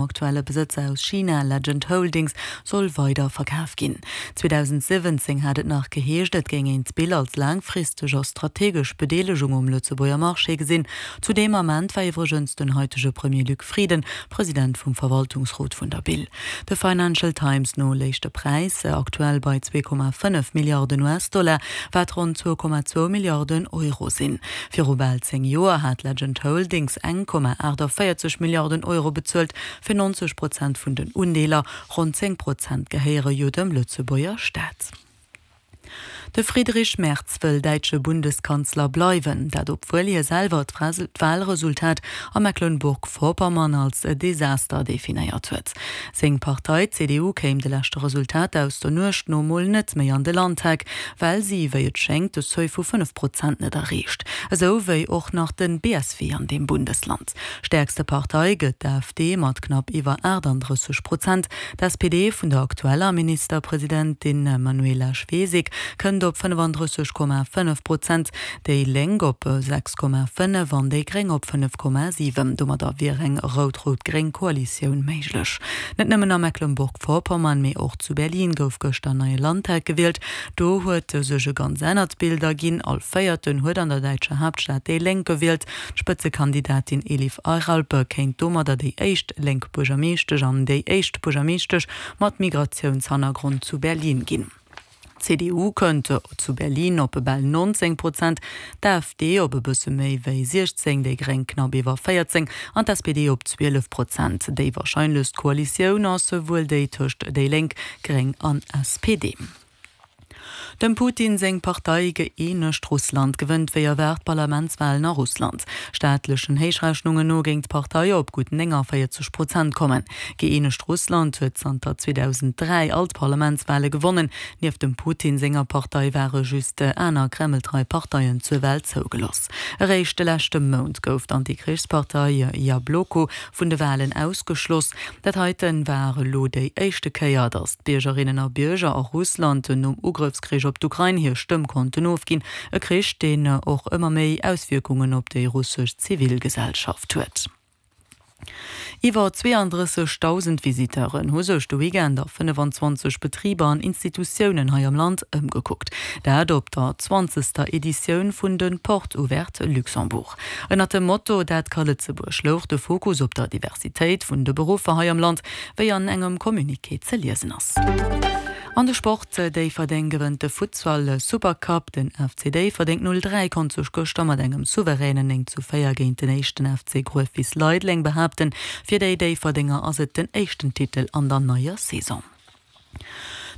Aktuelle Besëtzer aus China, Legend Holdings, soll weider verkaf ginn. 2017 hat et nach geheescht, et géing een d'Bill als laangfristeg a strategesch Bedeelegung um Lëtzebuerger Marché gesinn. Zu deem Ament war iwwregens den haitege Premier Luc Frieden President vum Verwaltungsrot vun der Bill. De Financial Times no léich de Präis aktuell bei 2,5 Milliarden US-Dollar, wat ronn 2,2 Milliarden Euro sinn. Viru bal 10 Joer hat Legend Holdings 1,48 Milliarden Euro bezuelt fir 90 Prozent vun den Undeeler. Ronn 10 Prozent gehéiere jo dem Lëtzebuerger Staat. De Friedrich Merz wëll däitsche Bundeskanzler bleiwen. Dat obwuel hie selwer d'Walresultat a Mecklenburg-Vorpommern als Desaster definéiert huet. Seng Partei, d'CDU, kéim de leschte Resultater aus der Nuecht no mol net méi an de Landtag, well si, wéi et schéngt, de Seuil vu 5 Prozent net erreecht. Esou wéi och nach den BSW an deem Bundesland. Stäerkste Partei gëtt d'AfD mat knapp iwwer 38 Prozent. D'SPD vun der aktueller Ministerpresidentin Manuela Schwesig kënnt op 35,5 Prozent, déi Lénk op 6,5 an déi Gréng op 5,7. Domadder wier eng rout-rout-gréng Koalitioun méiglech. Net nëmmen a Mecklenburg-Vorpommern, mee och zu Berlin gouf gëschter neie Landtag gewielt. Do huet sech e ganz anert Bild erginn, All Véierten huet an der däitscher Haaptstad déi Lénk gewielt. D'Spëtzekandidatin Elif Ayralp kéint domadder déi éischt lénk Buergermeeschtesch an déi éischt Buergermeeschtesch mat Migratiounshannergrond zu Berlin ginn. D'CDU kënnt zu Berlin op bal 19 Prozent, d'AfD op e bësse méi wéi 16, déi Gréng knapp iwwer 14 an d'SPD op 12 Prozent. Déi warscheinlechst Koalitioun ass wuel déi tëscht déi Lénk, Gréng an SPD. Dem Putin seng Partei Gëeenegt Russland gewënnt wéi erwaart d'Parlamentswalen a Russland. Staatlechen Héichrechnungen no géing d'Partei op gutt 49 Prozent kommen. Gëeenegt Russland huet zanter 2003 all d'Parlamentswale gewonnen. Nieft dem Putin senger Partei ware just aner kremltrei Parteien zur Wal zougeloss. Eréischt de leschte Mount gouf d'Antikrichspartei Jabloko vun de Walen ausgeschloss. Dat heiten war elo déi éischte Kéier, datt d'Biergerinnen a Bierger a Russland nom Ugrëffskrich op d'Ukrain hir Stëmm konnten ofginn. E Krich, deen och ëmmer méi Auswierkungen op déi russesch Zivilgesellschaft huet. Iwwer 32.000 Visiteuren hu sech de Weekend a 25 Betriber an Institutiounen hei am Land ëmgekuckt. Dat op der zwanzegster Editioun vun de Portes Ouvertes Luxembourg. Ënnert dem Motto Dat ka Lëtzebuerg louch de Fokus op der Diversitéit vun de Beruffer hei am Land, wéi an engem Communiqué ze liesen ass. An de Sport, Déifferdeng gewënnt de Futsal Supercup. Den FC Déifferdeng 03 konnt sech gëschter mat engem souveränen 9 zu 4 géint den éischten FC Gruefwiss Leideleng behaapten. Fir déi Déifferdenger ass et den éischten Titel an der neier Saison.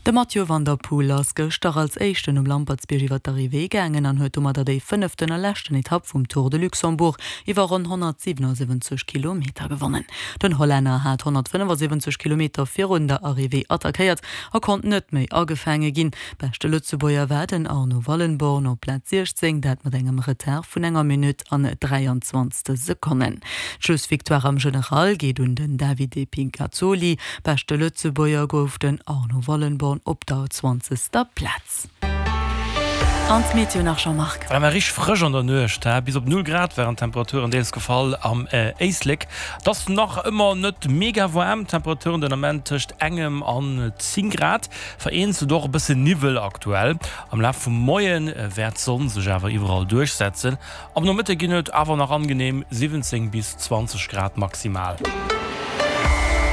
De Mathieu van der Poel ass gëschter als éischten um Lampertsbierg iwwer d'Arrivée gaangen an huet domadder déi fënneften a leschten Etapp vum Tour de Luxembourg iwwer ronn 177 Kilometer gewonnen. Den Hollänner hat 175 Kilometer virun der Arrivée attackéiert a konnt net méi agefaange ginn. Beschte Lëtzebuerger war den Arno Wallenborn op Plaz 16, dat mat engem Retard vun enger Minutt an 23 Sekonnen. D'Schlussvictoire am General geet un den Davide Pigazzoli. Beschte Lëtzebuerger gouf den Arno Wallenborn op der zwanzegster Plaz. An d'Meteo nach, Jean-Marc. War mar richteg frësch an der Nuecht, he? Bis op 0 Grad waren d'Temperaturen deels gefall am Éislek. Et ass nach ëmmer net mega waarm, Temperaturen den Ament tëscht engem an 10 Grad, vereenzelt och e bësse Niwwel aktuell. Am Laf vum Moie wäert d'Sonn sech awer iwwerall duerchsetzen. Am Nomëtte ginn et awer nach angenehm 17 bis 20 Grad maximal.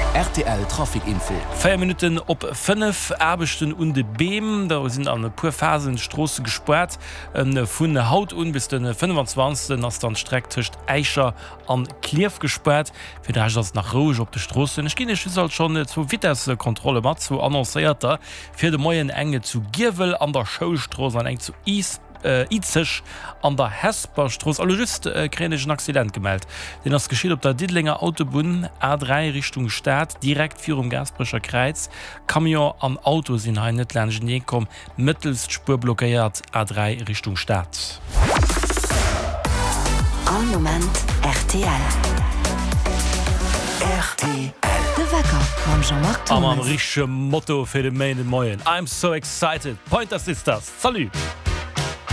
Rtl Trafic Info. 4 Minutten op 5, Aarbechten un de Beem, do sinn an e puer Phasen d'Stroosse gespaart. Vun haut un bis de 25 ass dann d'Streck tëscht Äischer an Klierf gespaart. Fir de Rescht ass et nach roueg op de Stroossen. Ech ginn Iech just alt schonn zwou Vitessekontrolle mat, zwou annoncéierter fir de Moien, eng zu Giewel an der Schoulstrooss an eng zu Izeg an der Hesperstrooss. A lo just kréien ech en Accident gemellt. Deen ass geschitt op der Diddelenger Autobunn, A3 Richtung Stad, direkt virum Gaasperecher Kräiz. Camion an Auto sinn hei net laanschtenee komm. Mëttelst Spuer blockéiert, A3 Richtung Stad. All Moment rtl. Rtl. De Wecker mam Jean-Marc A mam Thomas. richtege Motto fir de Méinden Moien, I'm so excited! Pointer Sisters, salut!